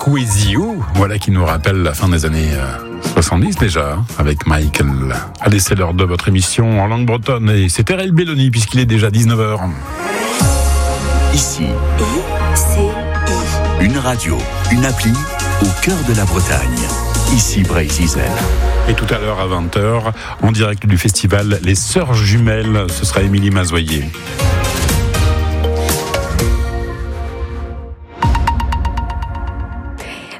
With You. Voilà qui nous rappelle la fin des années 70 déjà, hein, avec Michael. Allez, c'est l'heure de votre émission en langue bretonne et c'est RL Belloni puisqu'il est déjà 19h. Ici, I, C, I. Une radio, une appli au cœur de la Bretagne. Ici Breizh Izel. Et tout à l'heure à 20h, en direct du festival Les Sœurs Jumelles, ce sera Émilie Mazoyer.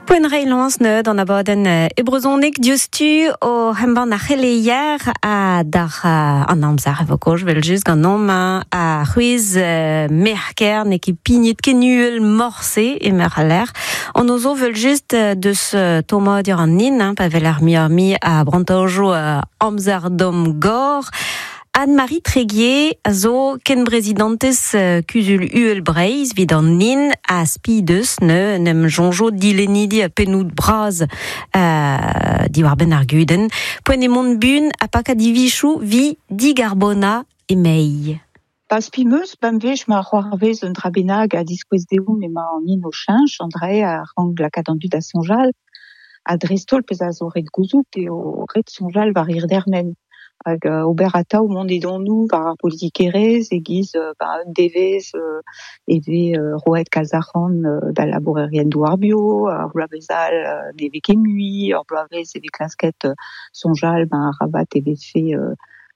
Poent reiñ lañs neuze d'an abadenn e brezhoneg diouzhtu o embann ar c'heleier ha d'ar an amzer e vo kaoz evel-just ganeomp ar c'hwezh merker n'eo ket pignet ken uhel morse emeur al lec'h. An ozo evel-just deus tommadur an hin, hein, pa weler muioc'h-mui a brantajoù amzer domm gor. Anne-Marie Tréguier a zo kenbrezidantez Kuzul Uhel Breizh evit an hin ha spi deus ne en em soñjo dilennidi ha pennoù bras diwar-benn ar gudenn. Poent eo mont buan ha pakañ divizoù 'vit digarbonañ e-maez. Pa spi 'm eus bemdez ma c'hoarvez un dra bennak a diskouez deomp emañ an hin o cheñch, an dra-se a rank lakaat an dud da soñjal. Ha dreist-holl pezh a zo ret gouzout eo ret soñjal war hir dermen. Hag ober atav mont edonoù war ar politikerezh e-giz ba un devezh e vez roet kalz arc'hant d'al labourerien-douar bio, ar bloavezh all ne vez ket mui, ur bloavezh e vez klasket soñjal ben arabat e vefe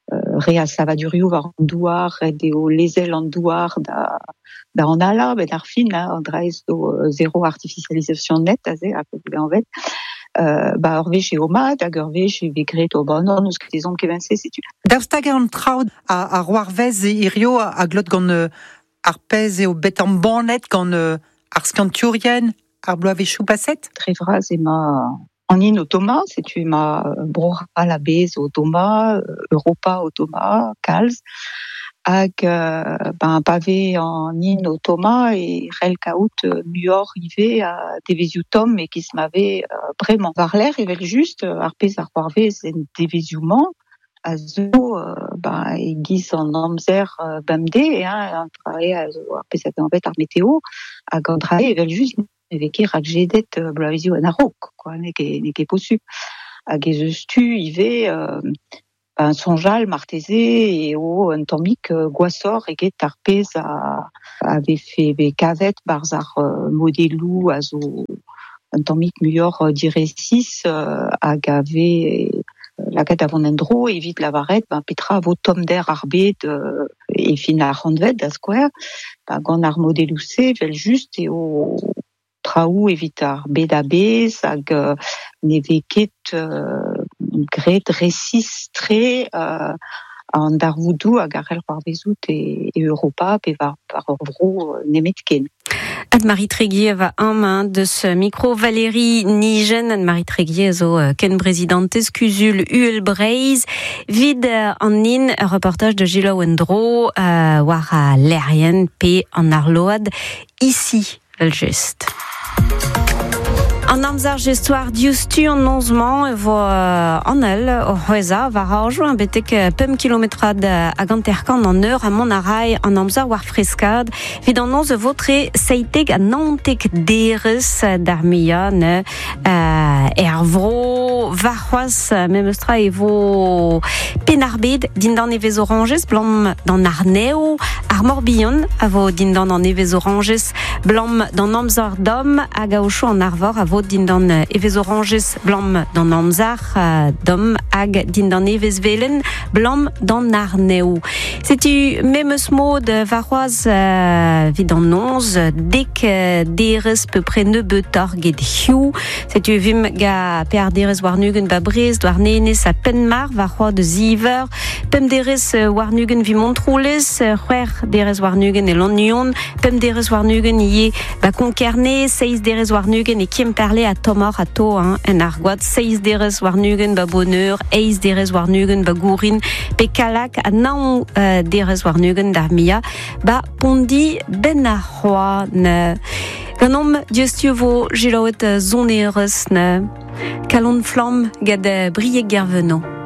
re a savadurioù war an douar, ret eo lezel an douar da da analañ benn ar fin, hein, an dra-se zo zéro artificialisation nette aze, a vez anvet. Ba ur wech eo mat hag ur wech e vez graet oh ba non, n'eus ket ezhomm kement-se, setu. Daoust hag an traoù a c'hoarvez hirio a glot gant ar pezh eo bet embannet gant ar skiantourien ar bloavezhioù paset? Dre vras emañ an hin o tommañ, setu emañ Bro-C'hall a-bezh o tommañ, Europa o tommañ kalz. Hag ben pa vez an hin o tommañ e c'hell kaout muioc'h ivez a devezhioù tomm e-giz ma vez bremañ. War-lerc'h evel-just ar pezh a c'hoarvez en devezhioù-mañ a zo ben e-giz an amzer bemdez hein, an dra-se a zo ar pezh a vez anvet ar meteo hag an dra-se evel-just ne vez ket rakjedet bloavezioù en a-raok quoi, n'eo ket n'eo ket posupl. Hag ez eus tu ivez ben soñjal marteze eo un tammig gwashoc'h eget ar pezh a a vefe bet kavet 'barzh ar modeloù a zo un tammig muioc'h diresis hag a vez lakaet da vont en-dro evit lavaret ben petra a vo tommder ar bed e fin ar c'hantved da skouer. Ben gant ar modeloù-se evel-just eo traoù evit ar bed a-bezh hag ne vez ket graet resis-tre an darvoudoù hag a c'hell c'hoarvezout e Europa pe war ur vro nemetken. Anne-Marie Tréguier va amañ deus micro Valérie Nigen. Anne-Marie Tréguier a zo kenbrezidantez Kuzul Uhel Breizh. Vid an hin, ur reportaj de Gilles Endro war al lec'hienn pe an arload ici evel-just. An amzer just war diouzhtu an noz-mañ e vo an el o c'hwezhañ war arjoù betek 5 kilometrad hag 50 an eur ha mont a ray an amzer war freskad. Evit an noz e vo tre 17 ha 19 derez d'ar muiañ ne er vro warc'hoazh memes tra e vo Penn-ar-Bed dindan evezh orañjez 'blam d'an arnev. Ar Morbihan a vo dindan an evezh orañjez 'blam d'an amzer domm hag aochoù an Arvor a vo dindan evezh orañjez 'blam d'an amzer domm hag dindan evezh velen 'blam d'an arnev. Setu memes mod warc'hoazh evit an noz dek derez peupre nebeutoc'h get hiziv. Setu e vimp ga pear derez warn-ugent ba Brest, Douarnenez ha Penmar warc'hoazh da ziv eur. Pemp derez warn-ugent evit Montroulez, c'hwec'h derez warn-ugent e Lannuon, pemp derez warn-ugent ivez ba Konkerne, seizh derez warn-ugent e Kemperle ha tommoc'h atao hein, en Argoad, seizh derez warn-ugent ba Boneur, eizh derez warn-ugent ba Gourin, pe Kallag ha nav derez warn-ugent d'ar muiañ ba Pondi benn ar c'hoant. Ganeomp diouzhtu vo selaouet sonerezh Kalon Flamm gant Brieg Gerveno.